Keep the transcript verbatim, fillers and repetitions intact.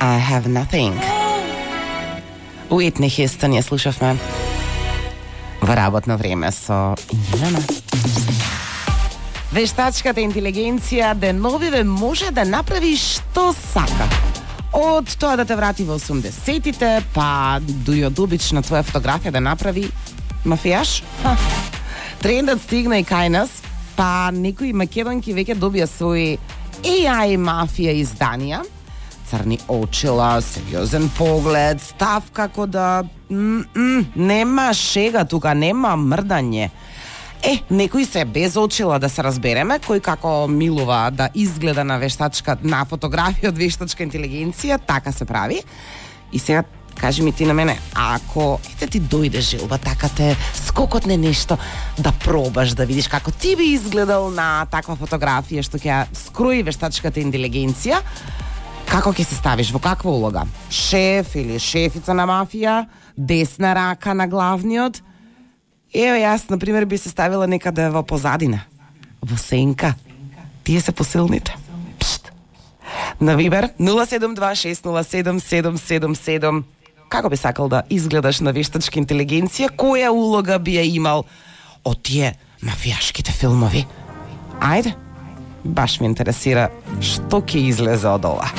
I have nothing. Уитни Хјустон ја слушавме во работно време со Милана. Вештачката интелигенција деновиве може да направи што сака. Од тоа да те врати во осумдесетите, па до и од обична твоја фотографија да направи мафијаш. Ха. Трендот стигна и кај нас, па некои македонки веќе добија своји еј ај мафија изданија. Црни очила, сериозен поглед, став како да м-м, нема шега тука, нема мрдање. Е, некои се без очила, да се разбереме, кој како милува да изгледа на вештачка, на фотографија од вештачка интелигенција, така се прави. И сега кажи ми ти на мене, ако ете ти дојде желба, така те скокотне нешто да пробаш, да видиш како ти би изгледал на таква фотографија што ќе ја скрои вештачката интелигенција, како ќе се ставиш, во каква улога? Шеф или шефица на мафија, десна рака на главниот? Ево, јас, например, би се ставила некаде во позадина, во сенка. Тие се посилните. Пшт. На Вибер нула седум два шест нула седум седум седум седум. Како би сакал да изгледаш на вештачка интелигенција? Која улога би ја имал од тие мафијашките филмови? Ајде, баш ме интересира што ќе излезе од ова.